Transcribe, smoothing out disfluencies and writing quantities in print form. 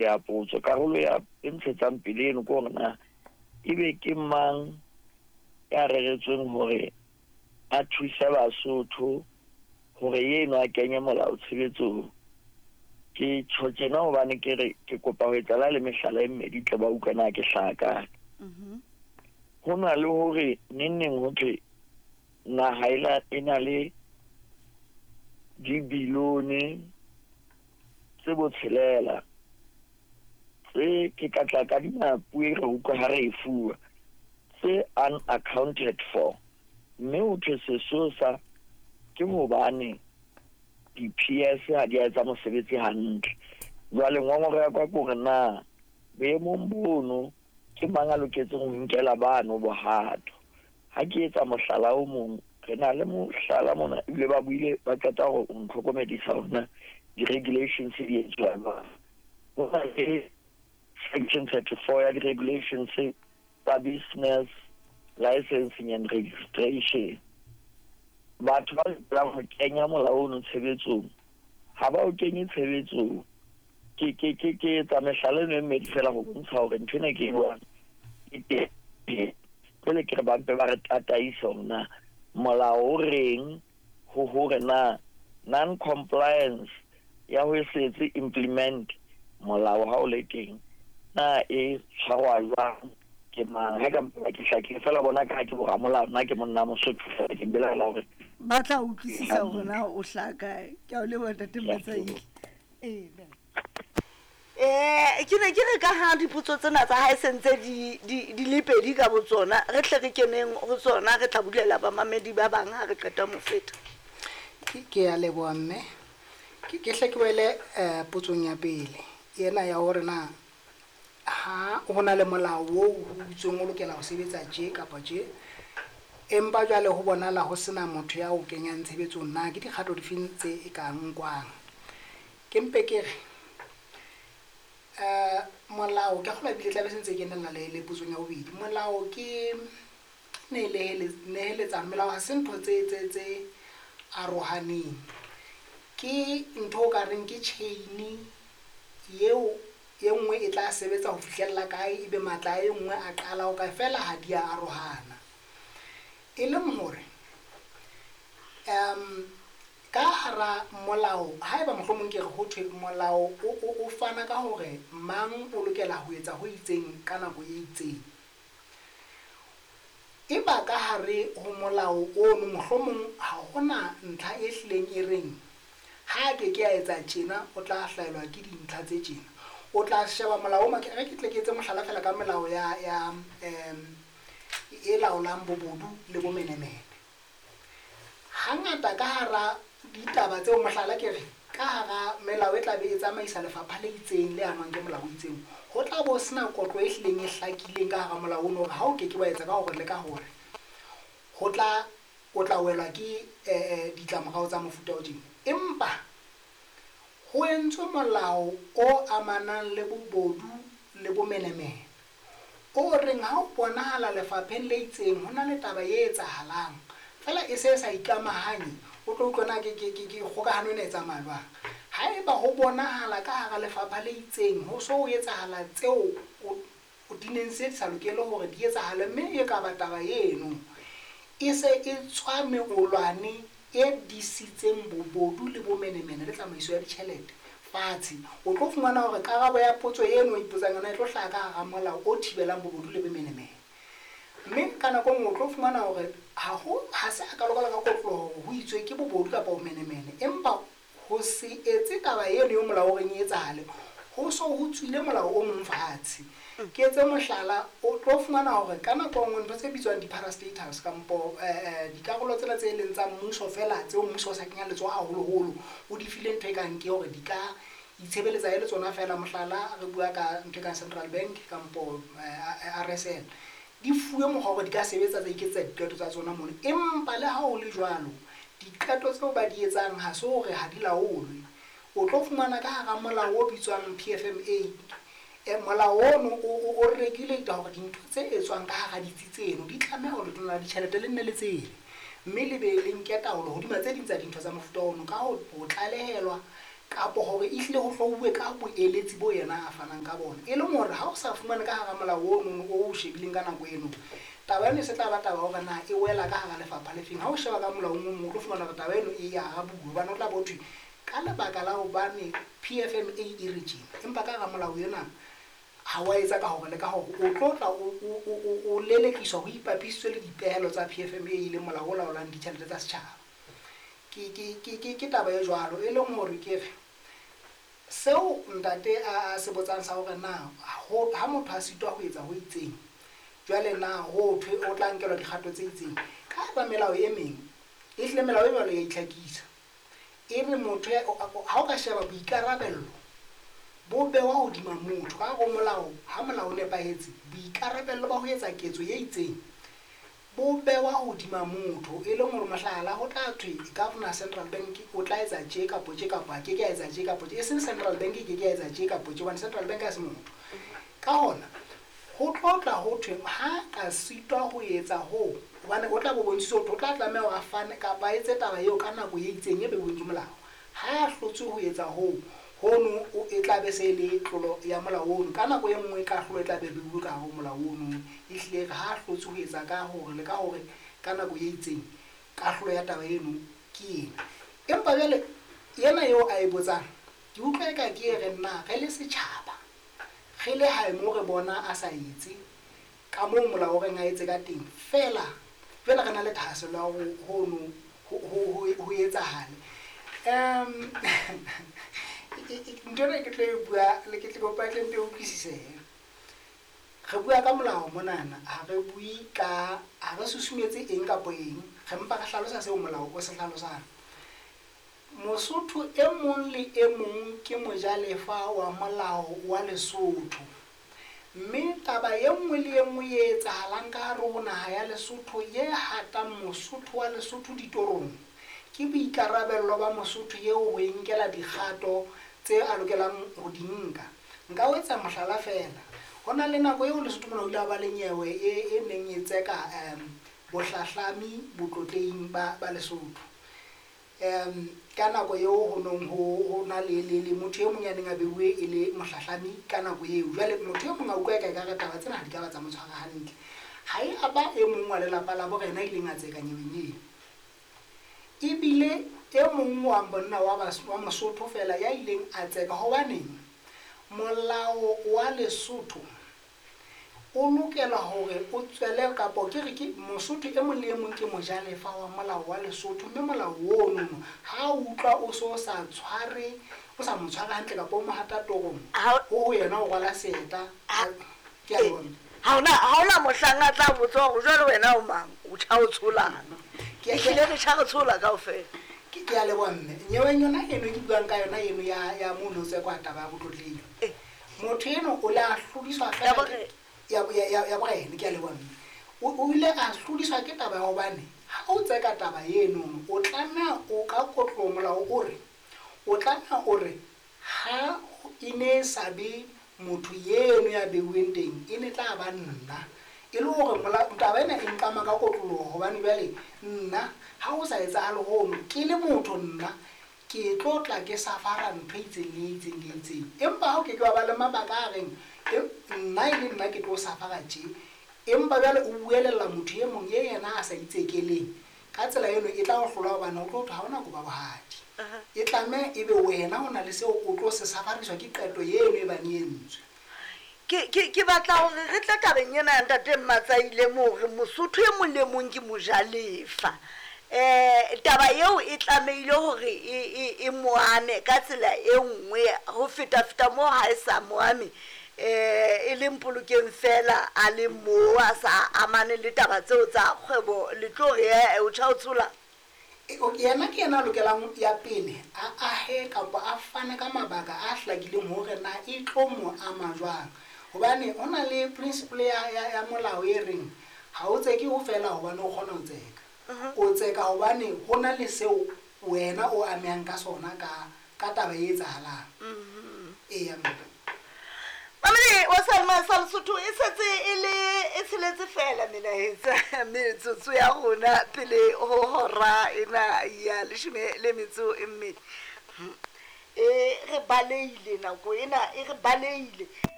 Ya potso. Karolo ya e ntshetsang pele eno ke hore na ebe ke mang ya reretsweng hore a thuse Basotho hore eno a kenye molao tshebetsong. Ke tjho tjena hobane ke re ke kopa ho etsa la le mehlala e mmedi tle ba utlwe na ke hlaha kae. Ho na le hore neng neng ho thwe naha e na le dibilione tse botshelela tse ke ka tla ka dima puo e re utlwa ha re e fuwa tse unaccounted for, mme ho thwe sesosa ke hobane di-PS ha di a etsa mosebetsi hantle. Jwale ngongoro ya ka ke hore na boemong bono ke mang a loketseng ho nkela bano bohato. Ha ke etsa mohlala o mong, re na le mohlala mona ebile ba buile ba qeta hore o ntlhokomedisa hore na di-regulations di etswa jwang. Ho na le section 34 ya di-regulations tsa business licensing and registration. Batho ba lokelang ho kenya molao ono tshebetsong ha ba o kenye tshebetsong. Ke etsa mehlala eno e mmedi fela ho bontsha hore ntho ena ke e buang e teng. Jwale ke re ba mpe ba re tataise hore na molao o reng ho hore na non-compliance ya ho se etse implement molao ha o le teng na e tshwarwa jwang ke mang. Ha ka mpa ke hlakile fela bona ka ke boramolao, nna ke monna Mosotho fela, ke belaela hore ba tla utlwisisa hore na o hlaha kae. Ke a o leboha ntate Matsaile. Ee, Ke ne ke re ka ha dipotso tsena tsa hae sentse di le pedi ka botsona, re tle re keneng ho tsona, re tla bulela bamamedi ba bang ha re qeta mo feta. Ke a leboha mme. Ke hle ke wele potsong ya pele ena ya hore na ha ho na le molao oo ho itsweng o lokela ho sebetsa tje kapa tje, empa jwale ho bonahala ho sena motho ya o kenyang tshebetsong, na ke dikgato difeng tse e ka nkwang? Ke mpe ke re molao ke kgolwa ebile tlabe se ntse e kenella le potsong ya bobedi. Molao ke neheletsano. Melao ha se ntho tse arohaneng, ke ntho o ka reng ke chain eo e nngwe e tla sebetsa ho fihlella kae, ebe matla a e nngwe a qala ho kae, fela ha di a arohana. E leng hore ka hara molao, haeba mohlomong ke re ho thwe molao o fana ka hore mang o lokela ho etsa ho itseng ka nako e itseng, eba ka hare ho molao ono mohlomong ha hona ntlha e hlileng e reng ha ke ke a etsa tjena o tla hlaelwa ke dintlha tse tjena. O tla sheba molao o re ke tle ke etse mohlala fela ka melao ya e laolang bobodu le bomenemene. Hangata ka hara ditaba tseo, mohlala ke re ka hara melao e tla be e tsamaisa lefapha le itseng le amang ke molao o itseng, ho tla bo sena kotlo e hlileng e hlakileng ka hara molao ono hore ha o ke ke wa etsa ka hore le ka hore ho tla o tla welwa ke ditlamorao tsa mofuta o tjena. Empa ho entswe molao o amanang le bobodu le bomenemene o reng ha o bonahala lefapheng le itseng ho na le taba e etsahalang fela e se sa ikamahanye, o tlo utlwa na ke kgokahano ena e tsamaya jwang. Haeba ho bonahala ka hara lefapha le itseng ho so ho etsahala tseo o di neng se di sa lokele hore di etsahale, mme e ka ba taba eno e se e tswa meolwane e disitseng bobodu le bomenemene le tsamaiso ya ditjhelete fatshe, o tlo fumana hore karabo ya potso eno o ipotsang yona e tlo hlaha ka hara molao o thibelang bobodu le bomenemene. Mme ka nako nngwe o tlo fumana hore ha se a ka lokela ka kotloloho hore ho itswe ke bobodu kapa bomenemene, empa ho se etse taba eno eo molao o reng e etsahale, ho so ho tswile molao o mong fatshe. Ke etse mohlala, o tlo fumana hore ka nako nngwe ntho tse bitswang di-parastatals kampo dikarolo tsena tse leng tsa mmuso fela tseo mmuso o sa kenyang letsoho haholoholo, o di file ntho e kang ke hore di ka itshebeletsa e le tsona fela. Mohlala re bua ka ntho e kang Central Bank kampo RSL, di fuwe mokgwa hore di ka sebetsa tsa iketsetsa diqeto tsa tsona mono. Empa le ha ho le jwalo, diqeto tseo ba di etsang ha se hore ha di laolwe. O tlo fumana ka hara molao o bitswang PFMA, molao ono o regulate hore dintho tse etswang ka hara ditsi tseno di tlameha hore letona la ditjhelete le nne le tsebe, mme le be le nke taolo hodima tse ding tsa dintho tsa mofuta ono ka ho tlalehelwa Kapo hore ehlile ho hlouwe ka boeletsi bo yena a fanang ka bona. E leng hore ha o sa fumane ka hara molao ono o o shebileng ka nako eno, taba eno e se tla ba taba hore na e wela ka hara lefapha le feng. Ha o sheba ka molaong o mong o tlo fumana hore taba eno e arabuwe hobane o tla bo thwe ka lebaka la hobane PFMA e re tjena. Empa ka hara molao ena ha wa etsa ka hore le ka hore o tlo tla o lelekiswa ho ipapisitswe le dipehelo tsa PFMA e leng molao o laolang ditjhelete tsa setjhaba. Ke taba e jwalo e leng hore ke re seo ntate a se botsang sa hore na ha motho a sitwa ho etsa ho itseng, jwale na ho thwe o tla nkelwa dikgato tse itseng. Ka hara melao e meng, ehlile melao e jwalo ya itlhakisa. E re motho ha o ka sheba boikarabello bo bewa hodima motho ka hare ho molao. Ha molao o nepahetse, boikarabello ba ho etsa ketso e itseng bo bewa hodima motho. E leng hore mohlala ho tla thwe Governor Central Bank o tla etsa tje kapo tje kapo a keke a etsa tje kapo tje. E seng Central Bank e keke ya etsa tje kapo tje hobane Central Bank ha se motho. Ka hona ho tlo tla ho thwe ha ka sitwa ho etsa hoo, hobane o tla bo bontshitswe ho thwe o tla tlameha hore a fane kapa a etse taba eo ka nako e itseng e beuweng ke molao. Ha a hlotswe ho etsa hoo, hono e tla be se e le tlolo ya molao ono. Ka nako e nngwe kahlolo e tla be beuwe ka hare ho molao ono. Ehlile re ha a hlotswe ho etsa ka hore le ka hore ka nako e itseng kahlolo ya taba eno ke ena. Empa jwale ena eo a e botsang, ke utlwa eka ke e re na re le setjhaba, re le hae moo re bona a sa etse ka moo molao o reng a etse ka teng, feela jwale re na le thahasello ya hore hono ho etsahale. Ntho ena ke tlo e bua le ke tle kopa tle mpe utlwisisehe. Re bua ka molao monana, ha re bue ka, ha re susumetse eng kapo eng, re mpa re hlalosa seo molao o se hlalosang. Mosotho e mong le e mong ke mojalefa wa molao wa Lesotho. Mme taba e nngwe le e nngwe e etsahalang ka hare ho naha ya Lesotho ye hatang Mosotho wa Lesotho ditorong, ke boikarabello ba Mosotho eo ho e nkela dikgato tse a lokelang ho di nka. Nka o etsa mohlala feela. Ho na le nako eo Lesotho mona ho ile ha ba le nyewe e neng e tseka bohlahlami botlotlehing ba Lesotho. Ka nako eo ho nong ho na le motho e mong ya neng a beuwe e le mohlahlami ka nako eo. Jwale motho e mong a utlwa eka ekare taba tsena ha di ka ba tsa mo tshwara hantle. Ha e a ba e mong wa lelapa la borena a ileng a tseka nyeweng eo. Ebile e mong wa monna wa Mosotho feela ya ileng a tseka hobaneng molao wa Lesotho o lokela hore o tswele kapo ke re ke Mosotho e mong le e mong ke mojalefa wa molao wa Lesotho, mme molao ono ha o utlwa o so sa tshware, o sa mo tshware hantle kapo o mo hata torong, ho yena o rwala seeta. Ke a bona. Ha hona mohlang a tla botsa hore jwale wena o mang, o tjha o tsholang. Ke Ehlile re tjha re tshola kaofela. Ke a leboha mme. Nyeweng yona eno ke buang ka yona eno ya mono tse kwa taba ya botlotlehing. Motho eno o le a hlodiswa Ya feela borena. Ya borena, ke a leboha mme. O ile a hlodiswa ke taba ya hobane ha o tseka taba eno, o tlameha o ka kotlo molao o re, o tlameha o re ha e ne sa be motho eno ya beuweng teng, e ne tla ba nna. E le hore taba ena e nkama ka kotloloho hobane jwale nna ha ho sa etsahale hono, ke le motho nna ke tlo tla ke safara ntho e itseng le e itseng le e itseng. Empa ha o ke ke wa ba le mabaka a reng, nna e le nna ke tlo safara tje, empa jwale o buelella motho e mong e yena a sa itsekeleng, ka tsela eno e tla o hlola hobane o tlo thwe ha hona koba bohadi. E tlameha ebe wena o na le seo o tlo se safariswa ke qeto eno e bang e entswe. Ke batla hore re tle tabeng ena ya ntate Mmatsaile moo re Mosotho e mong le mong ke mojalefa. Taba eo e tlamehile hore e mo ame ka tsela e nngwe ho feta-feta moo ha e sa mo ame, e leng polokeng fela a le moo a sa amane le taba tseo tsa kgwebo, le tlo re, o tjha o tshola. Yena ke yena a lokelang ya pele a ahe kapa a fane ka mabaka a hlakileng hore na e tlo mo ama jwang. Hobane ho na le principle ya molao e reng ha o tseke ho fela hobane o kgona ho tseka. O tseka hobane ho na le seo wena o amehang ka sona ka taba e etsahalang. Eya, mme. Mamedi wa Salma sa Lesotho e setse e le e tsheletse feela melaetsa metsotso ya rona pele ho hora ena ya leshome le metso e mmedi. E re baleile nako ena, e re baleile.